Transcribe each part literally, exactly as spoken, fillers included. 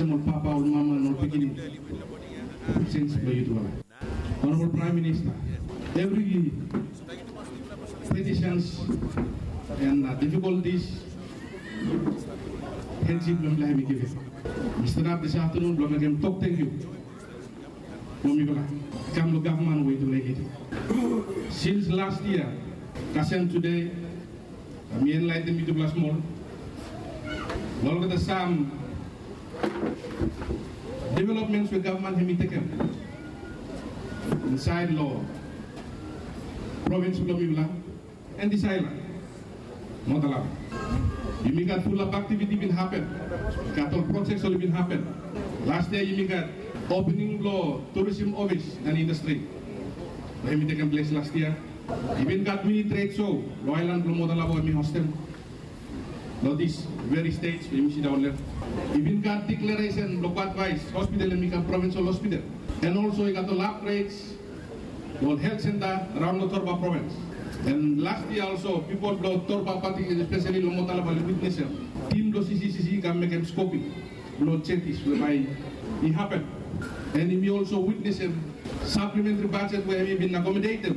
Ol papa, ol mama, and ol pikinini. Sins blong yutufala. Honorable Prime Minister, evri petitions and, uh, difficulties, hensip blong mifala hemi givim. Mi stanap this afternoon blong mekem tok tangkiu. Blong mifala kam long gavman we yutufala i getem. Since last year, kasem tude, mi enlaetenem yutufala smol long olgeta sam developments we gavman hemi tekem insaed long provins blong mifala and this aelan Motolaba. Yumi gat fulap aktiviti bin hapen. Gat ol projek oli bin hapen. Las yia yumi gat opening blong tourism ofis and indastri. Hemi tekem ples las yia. I bin gat mini tred so long aelan blong Motolaba we mi hostem long this very stage we yumi sidaon long hem. I bin gat deklaresen blong Bad Vice Hospital hemi kam provinsel hospital. And also i gat ol upgrades long ol helt senta raon long Torba provins. And las yia olso pipol blong Torba pati espeseli long Motolaba oli witnesem tim blong CCCC i kam mekem skoping blong jetis we bae i hapen. And yumi olso witnesem saplementri bajet we hemi bin akomodetem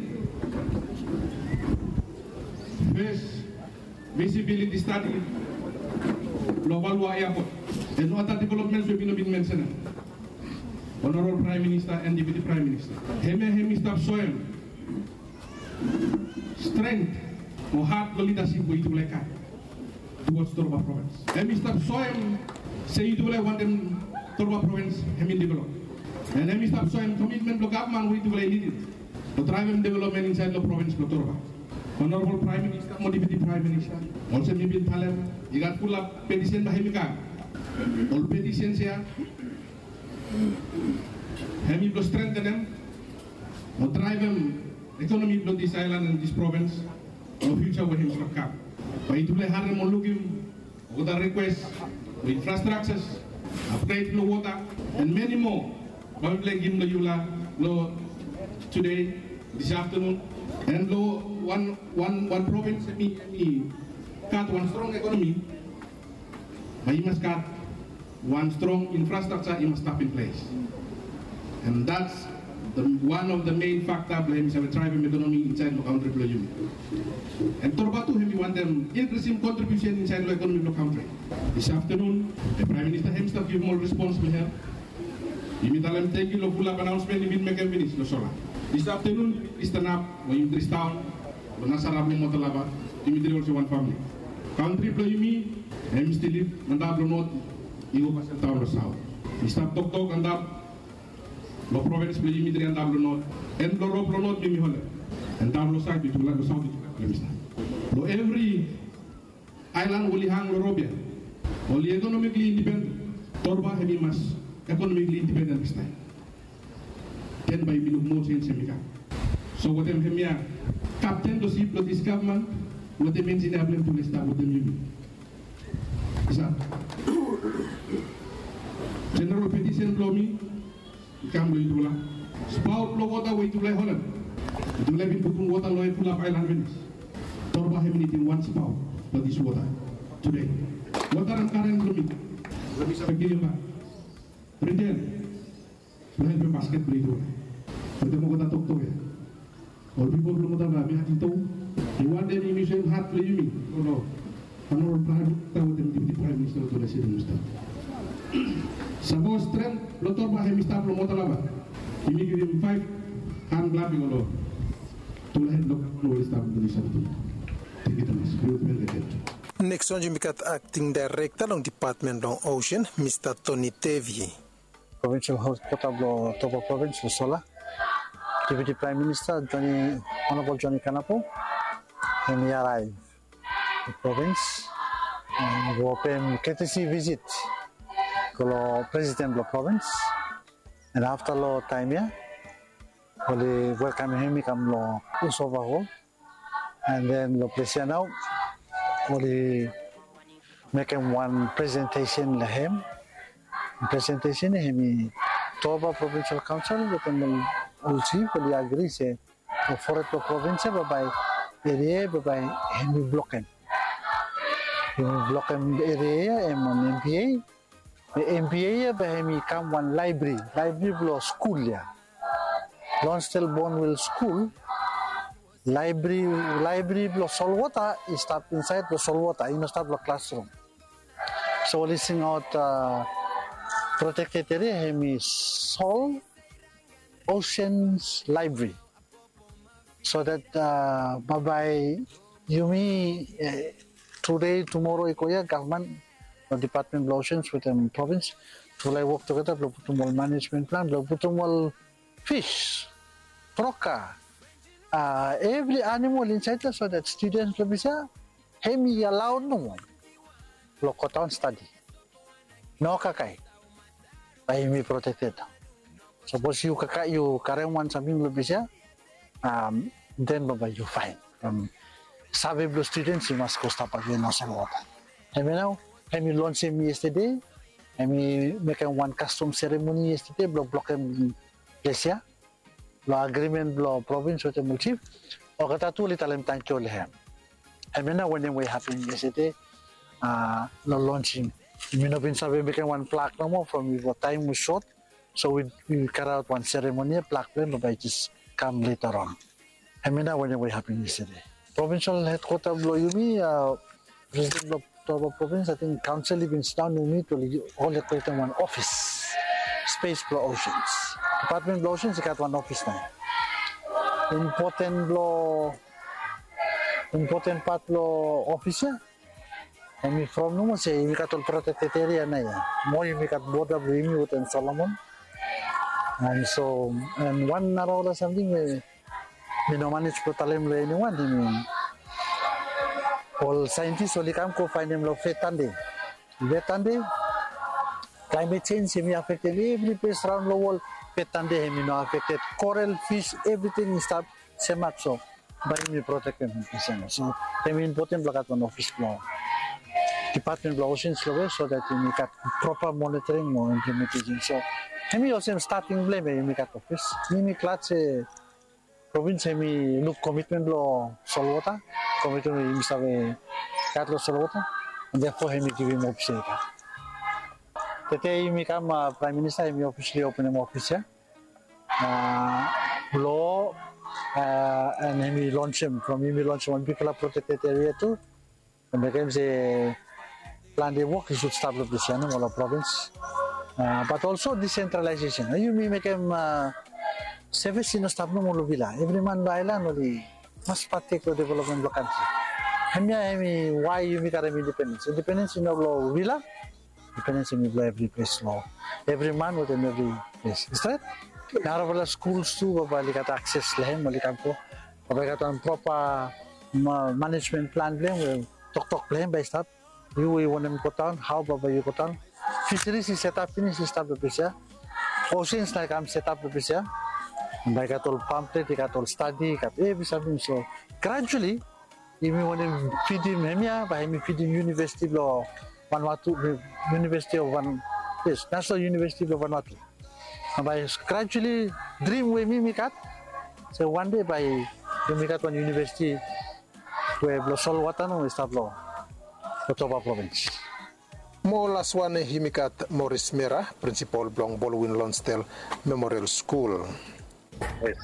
fes visibiliti stadi blong Valua eapot and ol ata developments we mi no bin mensenem. Honorable Prime Minister and Deputy Prime Minister, hemia hemi stap soem strength o hat blong lidasip we yutufala i gat towards Torba provins. Hemi stap soem se yutufala i wantem Torba provins hemi develop. And hemi stap soem komitmen blong gavman we yutufala i lidim blong draevem developmen insaed long provins blong Torba. Honorable Prime Minister mo Deputy Prime Minister, olsem mi bin talem, i gat fulap petisen bae hemi kam. Ol petisens ya hemi blong strengtenem o draevem ekonomi blong this aelan and this provins long fiuja we hemi stap kam. Bae yutufala i harem o lukim olgeta rikwes blong infrastruktures, apgred blong wota, and many more bae mifala i givim long yufala long tude, this afternoon. And long wan, wan, wan provins hemi, hemi gat wan strong ekonomi, bae i mas gat wan strong infrastructure i mas stap in ples. And that's the, one of the main factor blong hemi save draevem ekonomi insaed long kantri blong yumi. And Torba tu hemi wantem inkrisim kontribiusen insaed long ekonomi blong kantri. This afternoon, the Prime Minister hemi stap givim ol respons blong hem. Yumi talem tangkiu long fulap anaonsmen i bin mekem finis long sola. This afternoon, yumi stanap we yumi dres daon long nasara blong Motolaba, yumi dres olsem wan famili. Kantri blong yumi hemi stil lif antap long not i go kasem daon long saot. Mi stap toktok antap long provins blong yumi dres antap long not, and long rop long not yumi holem, antap long saot yutufala, long saot yutufala, Prime Minister. Long evri aelan we oli hang long rop ya oli ekonomikli indipenden. Torba hemi mas ekonomikli indipenden distaem. Then bae yumi luk moa jenj hemi kam. So wetem hemia kapten blong sip blong this gavman, wetem enjinia blong hem tu oli stap wetem yumi. Isa, jeneral petisen blong mi i kam long yutufala. Spaot blong wota we yutufala i holem, yutufala i bin putum wota long hem fulap aelan finis. Torba hemi nidim wan spaot blong this wota tude. Wota and karen blong mi, blong mi save givim bak. Priden blong helpem basket blong yutufala. Wetem olgeta toktok ya, ol pipol blong Motolaba, mi ating tu, mi wantem yumi soem hat blong yumi long Honorable Prime Minister wetem Deputy Prime Minister we tufala i sidaon long stap. Sapos strength blong Torba hemi stap long Motolaba, yumi givim faef han klaping long tufala hed blong gavman we oli stap long this afternoon. Tangkiu tumas. Nekis wan yumi gat Acting Director long Department blong Ocean, Mista Tony Tevi. Provincial Headquarter blong Torba Provins long sola. Deputy Prime Minister Johnny, Honorable Johnny Kanapu, hemi araev long provins and go pem courtesy visit go long President blong provins. And afta long taem ya oli welkamem hem i kam long Usova Hall. And then long ples ya nao oli mekem wan presentesen long hem. Presentesen ya hemi Torba Provincial Council wetem ol, ol chief oli agri se long foret blong provins ya bambae eria ya bambae hemi blokem. Hemi blokem eria ya hem wan MPA. MBA ia bae hemi kam wan laebri, laebri blong skul ia. Lonsdale Bournville School, laebri, laebri blong solwota i stap insaed long solwota, i no stap long klasrum. So oli singaot protected area hemi Seoul Oceans Library. So that bambae yumi, tude, tumoro i go ia, gavman, dipatmen blong Oceans wetem provins, tufala i wok tugeta blong putum ol manejmen plan blong putum ol fis, kroka, evri anamol insaed ia, so that studens blong ples ia hemi alaod nomo blong godaon stadi. No kakae, bae hemi protected. Sapos yu kakae, yu karem wan samting long ples ia, den bambae yu faen. Save blong studens i mas go stap agen long solwota. Hemia nao hemi lonsem yestede. Hemi mekem wan kastom seremoni yestede blong blokem ples ia, long agrimen blong provins wetem ol jif. Olgeta tu oli talem tangkiu long hem. Hemia nao wanem we i hapen yestede long lonsing. Mi no bin save mekem wan flag nomo from bifo, taem was sot. So wi, wi karaot wan seremoni ia, flag blong hem bambae i jes kam leta on. Hemia nao wanem we i hapen yestede. Provinsol hedkwota blong yumi, presiden blong Toba provins, ating kaonsel i bin sidaon, yumi tu oli ol i krietem wan ofis, spes blong Oceans. Dipatmen blong Oceans i gat wan ofis nao. Impoten blong, impoten pat blong ofis ia hemi from nomo se yumi gat ol protected area nao ia. Mo yumi gat boda blong yumi wetem Solomon. And so, and wan nara ol samting we mi no manej blong talem long eniwan, hemi ol saentis oli kam go faenem long Vetande. Vetande, klaemet jenj hemi afektem evri ples raon long wol. Vetande hemi no afekted. Korel, fis, evriting i stap semak, so bae yumi protektem hem. So hemi impoten blong gat wan ofis blong Dipatmen blong Oceans long we, so that yumi gat propa monitoring mo implementation. So hemi olsem stating blong hem we yumi gat ofis. Mi mi glad se provins hemi luk komitmen blong solwota, komitmen we yumi save gat long solwota, and therefore hemi givim ofis ia. Tede yumi kam, Praem Minista hemi ofisli openem ofis ia blong, and hemi lonsem, from yumi lonsem wan bigfala protected area tu. Mekem se plante wok i sud stap long ples ia nomo long provins. But also decentralization. Yumi mekem sevis i no stap nomo long vila. Evri man long aelan oli mas patek long developmen blong kantri. Hemia hemi wae yumi karem independens. Independens i no blong vila. Independens hemi blong evri ples, long evri man wetem evri ples. Stret? Narafala skuls tu bambae oli gat akses long hem, oli kam go. Bambae i gat wan propa manejmen plan blong hem we toktok blong hem bae i stap. Yu we yu wantem godaon, hao bambae yu godaon. Fiseris i setap finis, i stap long ples ia. Oceans nao i kam setap long ples ia. Bambae i gat ol pamflet, i gat ol stadi, i gat evri samting. So gradually yumi wantem fidim hemia, bae hemi fidim University blong Vanuatu, University of Van, yes, National University blong Vanuatu. Bae gradually drim we mi mi gat se wan dei bae yumi gat wan university we blong solwota nomo i stap long Toba provins. Mo laswan yumi gat Morris Mera, prinsipol blong Baldwin Lonsdale Memorial Skul. Yes,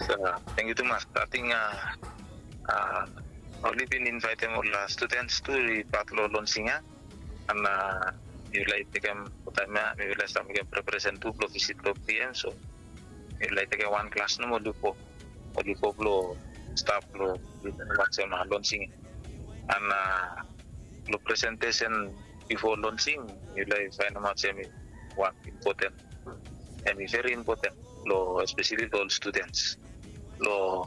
tangkiu tumas. Ating oli bin invaetem ol studens tu i pat long lonsing ia. And mifala i tekem taem ia, mifala i stap mekem preparesen tu blong visit blong PM, so mifala i tekem wan klas nomo, oli go, oli go blong stap long wantem lonsing ia. And long presentesen bifo lonsing, mifala i faenemaot se hemi wan impoten, hemi veri impoten long, espeseli long ol studens. Long,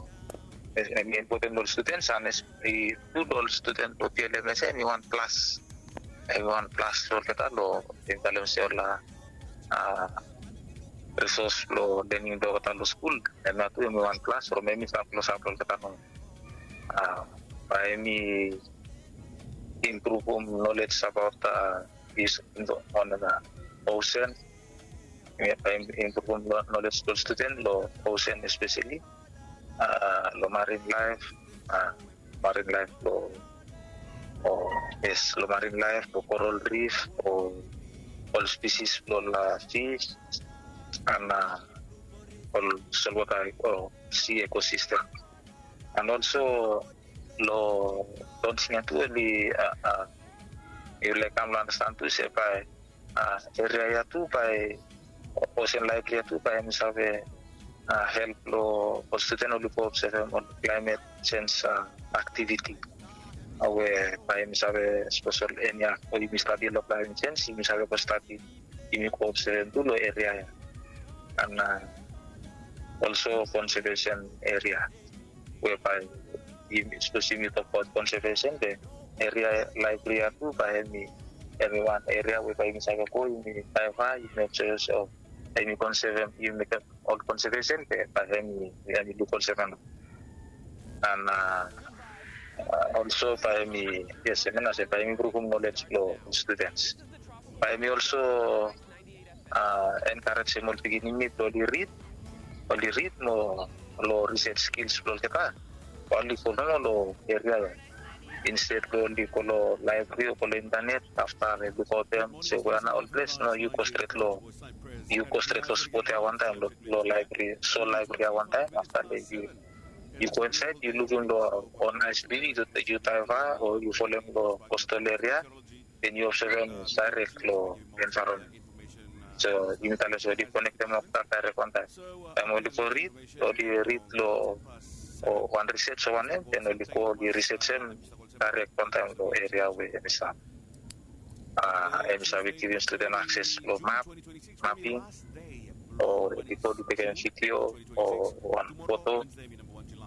hemi impoten long ol studens, and i tu long ol studens blong TLMS, hemi wan plas, hemi wan plas long olgeta long, mi talem se ol resos blong lening blong olgeta long skul. Hemia tu hemi wan plas from hemi stap klosap long olgeta nomo. Bae hemi impruvum nolej abaot, is on, osen. Bae hemi impruvum nolej blong ol studen long osen, espeseli long marin laef, marin laef blong, o yes, long marin laef, long koral rif, o ol spisis blong ol fis an ol solwota o si ekosistem. An olso long dons ya tu oli, yufala i kam long andastan tu se bae eria ya tu bae, osen laebri ya tu bae hem i save help long ol studen oli go obsevem ol klaemet sens aktiviti. We bae hem i save sapos ol enia o yumi stadi long klaemet sens yumi save go stadi, yumi go obsevem tu long eria ya. An olso konsevesen eria we bae yumi sapos yumi tokbaot konsevesen be eria laebri ya tu bae hem i, hem i wan eria we bae yumi save go yumi taeva yumi obsevem, yumi konsevem yumi mekem ol konsevesen be bae hem i, hem i luk olsem. An olso bae hem i, yes, hem i no se bae hem i impruvum nolej blong studens. Bae hem i olso enkarejem ol pikinini blong oli rid, oli rid mo long risej skils blong olgeta. Oli go nomo long eria ya insted blong oli go long laebri o go long intanet afta oli lukaotem se wea nao ol ples, no, yu go stret long, yu go stret long spot ya wantaem long laebri, so laebri ya wantaem afta long yu, yu go insaed yu lukim long on aes blong yu, yu taeva o yu folem long kostal eria, then yu obsevem daerek long envaeronmen. So yumi talem se oli konektem olgeta daerek wantaem. Taem oli go rid, oli rid long wan risej o wanem, then oli go oli risejem daerek wantaem long eria we hem i stap. Hem i save givim studen akses long map, maping, o oli go oli tekem vidio o wan foto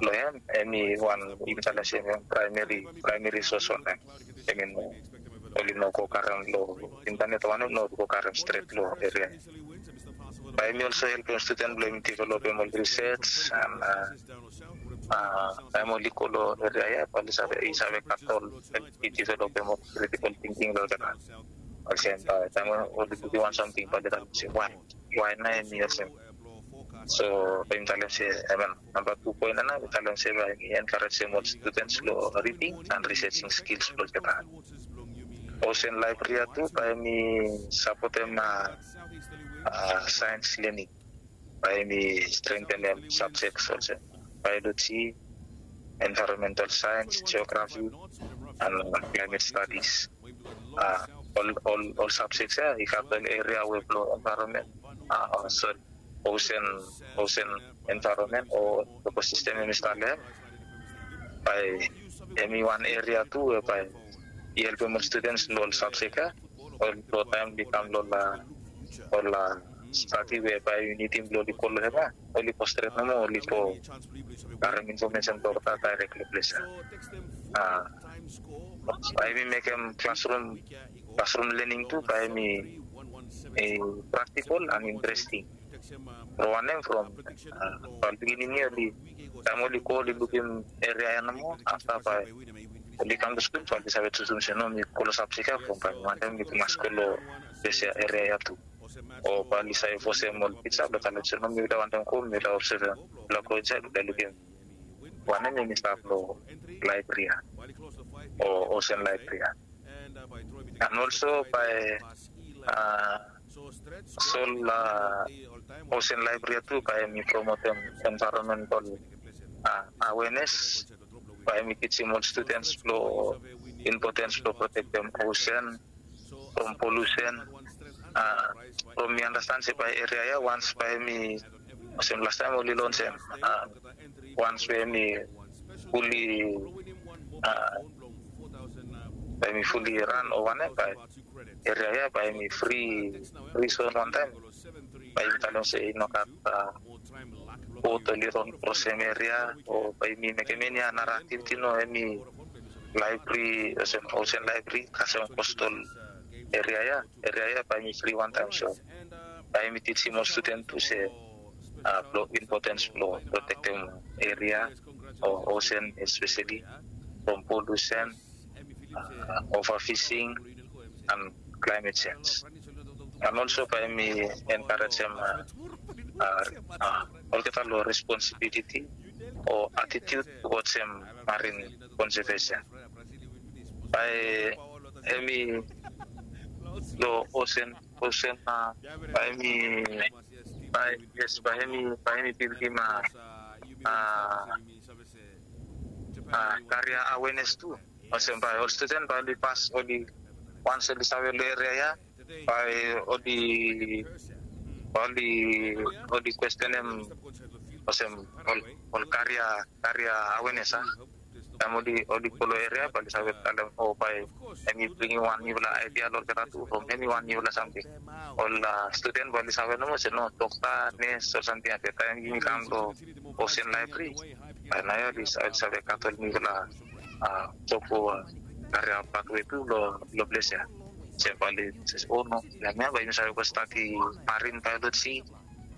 long hem, hem i wan, yumi talem se hem i wan praemeri, praemeri sos wantaem. Hem i no, oli no go karem long intanet o wanem, no, oli go karem stret long eria. Bae hem i olso helpem studen blong hem i developem ol risej an taem oli go long eria ya bae oli save, i save gat ol, i developem ol kritikol tingting long olgeta. Olsem bae taem oli lukim wan samting bae oli talem se wae, wae nao hem i olsem. So bae yumi talem se, amen, namba tu poen ya nao mi talem se bae hem i enkarejem ol studens long riding an risejing skils blong olgeta. Osen laebri ya tu bae hem i sapotem saens lening. Bae hem i strengtenem sabjek olsem baeoloji, envaeronmental saens, jeografi an klaemet stadis. Ol, ol sabjek ya i gat ol eria we blong envaeronmen, sori, osen, osen envaeronmen o ekosistem hem i stap long hem. Bae hem i wan eria tu we bae i helpem ol studens long ol sabjek ya. Ol long taem oli kam long ol stadi we bae yu nidim blong oli go long hem ya, oli go stret nomo oli go karem infomesen blong olgeta daerek long ples ya. Bae hem i mekem klasrum, klasrum lening tu bae hem i praktikol an interesting. From wanem, from ol pikinini oli, taem oli go oli lukim eria ya nomo afta bae oli kam long skul bae oli save jusum se no, mi go long sabjek ya from bae mi wantem mi mas go long ples ya, eria ya tu. O bae oli save fosem ol tija blong talem se no, mi wantem go, mi wantem obsevem, mi wantem go insaed mi wantem lukim wanem hem i stap long laebri ya o osen laebri ya. An olso bae sol osen laebri ya tu bae hem i promotem envaeronmental awenes. Bae hem i tijim ol studens blong impotens blong protektem osen from polusen. From mi andastan se bae eria ya wans bae hem i, olsem lastaem oli lonsem, wans we hem i fuli, bae hem i fuli ran o wanem, bae eria ya bae hem i fri, fri zon wantaem. Bae yumi talem se i no gat bot oli ron krosem eria o bae yumi mekem eni nara aktiviti, no, hem i laebri, osen, osen laebri kasem kostal eria ya. Eria ya bae hem i fri wantaem, so bae hem i tijim ol studen tu se blong impotens blong protektem eria o osen, espeseli from polusen, overfishing an climate change. An olso bae hem i enkarejem olgeta long responsibiliti o atitiut towards hem marin konsevesen. Bae hem i long osen Olsem bae hemi, bae, yes, bae hemi, bae hemi bildim a, a, a karia awenes tu. Olsem bae ol studen bae oli pas, oli, wans oli save lo eria ya, bae oli, bae oli, oli kwestenem olsem ol, ol karia, karia awenes a. Taem oli, oli go lo eria bae oli save talem o bae hemi bringim wan niufala aedia lo olgeta tu from hemi wan niufala samting. Ol studen bae oli save nomo se no, dokta, nes o samting ya. Be taem yumi kam lo Ocean Library, bae nao ya oli save gat ol niufala job o karia pathway tu lo, lo ples ya. Se bae oli se o no, hemia bae yumi save go stadi marine biology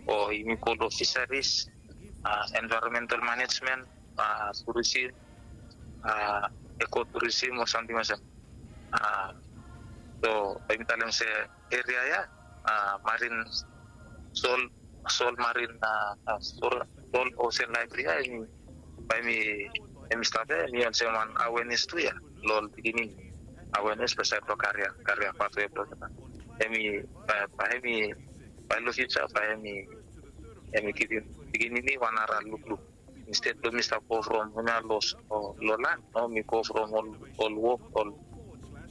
o yumi go lo fisheries, environmental management, tourism, ecotourism o samting olsem. So bae yumi talem se eria ya, marine, Seoul, Seoul Marine, Seoul Ocean Library ya, hemi, bae hemi, hemi stap ya, hemi olsem wan awareness tu ya lo ol pikinini. Awareness lo saed blo karia, karia pathway blo olgeta. Hemi, bae hemi, bae lo future bae hemi, hemi givim pikinini wan nara lukluk. Instead blo mi stap go from hemia lo, lo land, no, mi go from ol, ol wok, ol,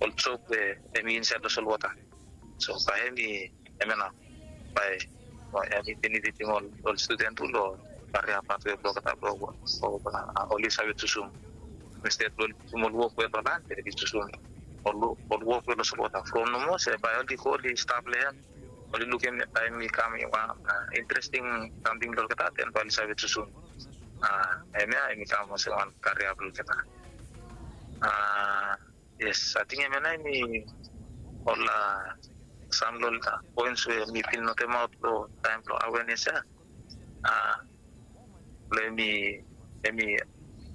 ol job we hemi insaed lo solwota. So bae hemi, hemia nao bae, bae hemi benefitim ol, ol studen tu lo karia pathway blo olgeta blo oli save jusum. Instead blo oli jusum ol wok we lo land, oli jusum ol, ol wok we lo solwota. From nomo se bae oli go oli stap lo hem, oli lukim, taem i kam i wan interesting samting lo olgeta, den bae oli save jusum. Hemia hemi kam olsem wan karia blo olgeta. Yes, ating hemia nao hemi ol sam lo ol poens we mi bin notemaot lo taem blo awareness ya. Blo hemi, hemi,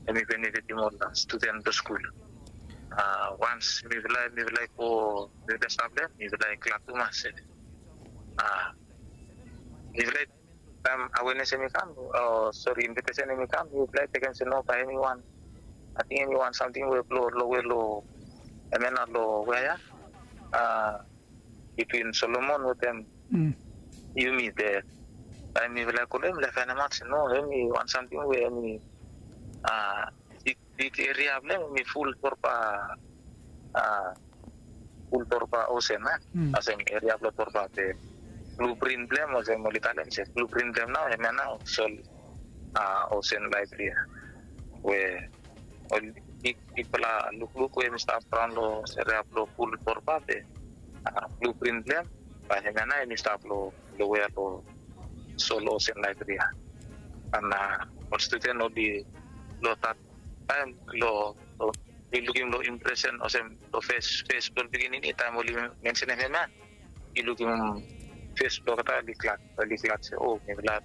hemi benefitim ol studen blo skul. Wans mifala, mifala i go, mifala i stap lo hem, mifala i glad tumas se mifala i, taem awareness hemi kam, o sori, invitation hemi kam, mifala i tekem se no, bae hemi wan, ating hemi wan samting we blo lowe lo, hemia nao lo wea ya, bitwin Solomon wetem yumi. Be taem mifala i go lo hem, mifala i faenemaot se no, hemi wan samting we hemi big, big eria blo hem hemi ful torba, ful torba osen, a? Olsem eria blo torba, be blueprint blo hem, olsem oli talem se blueprint blo hem nao, hemia nao Seoul Ocean Library ya. We ol big, bigfala lukluk we hemi stap raon lo eria blo ful torba, be blueprint blo hem, bae hemia nao hemi stap lo, lo wea lo Seoul Ocean Library ya. An ol studen oli lo that taem lo, oli lukim lo impression olsem lo fes, fes blo ol pikinini taem oli mensenem hemia, i lukim fes blo olgeta, oli glad, oli glad se o, mifala,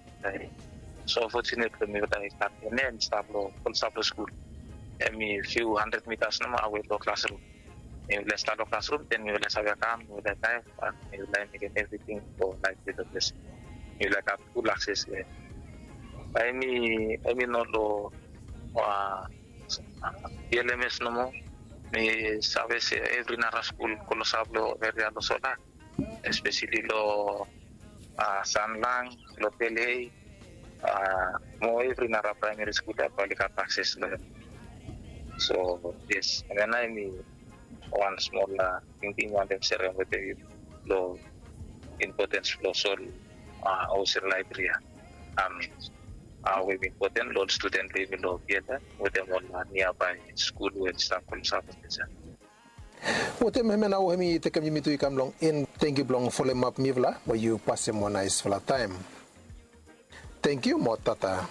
so fortunate blo mifala i gat hemia, hemi stap lo, oli stap lo skul. Hemi few hundred meters nomo awe lo klasrum. Mifala i stap lo klasrum, den mifala i save kam, mifala i daev, an mifala i mekem evriting blo laef i go ples. Mifala i gat full access lo hem. Bae hemi, hemi no lo B L M S nomo. Mi save se evri nara skul klosap lo eria lo Seoul, especially lo Sanlang, lo Pelhei, mo evri nara primary skul ya bae oli gat access lo hem. So yes, hemia nao hemi wan smol tingting mi wantem serem wetem yu lo importance blo Seoul Ocean Library ya. Hao hemi important lo ol studen blo yumi lo B L M wetem ol nearby skul we oli stap klosap. Wetem hemia nao hemi tekem yumi tu i kam long en. Tangkiu blong folem ap mifala, mo yu pasem wan naesfala taem. Tangkiu mo tata.